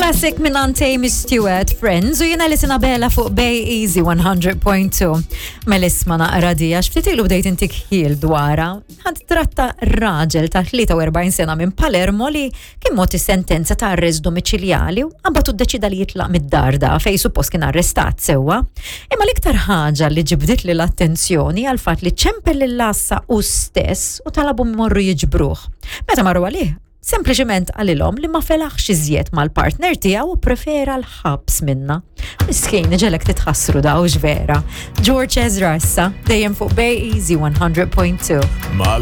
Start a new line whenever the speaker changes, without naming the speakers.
Classic minn Amy Stewart, Friends, u jena li sinabela fuq Bay Easy 100.2. Mel isma naqra di, għax ftit ilu bdejt intik ħil dwara. Ħad tratta raġel ta' 43 sena minn Palermo li kien mogħti sentenza ta' arrest domiċiljali u għabatu ddeċida li jitlaq mid-dar da fej suppost kien arrestat sewwa. Imma l-iktar ħaġa li ġibdit li l-attenzjoni għal fatt li ċempel lill-għassa u stess u talabu morru jiġbruh. Meta marru għalih, sempliċement qalilhom li ma felaħx iżjed mal-partner tiegħu u prefera l-ħabs minna. Miskin, ġelek titħassru daw vera. George Ezra issa, dejjem fuq Bay Easy 100.2.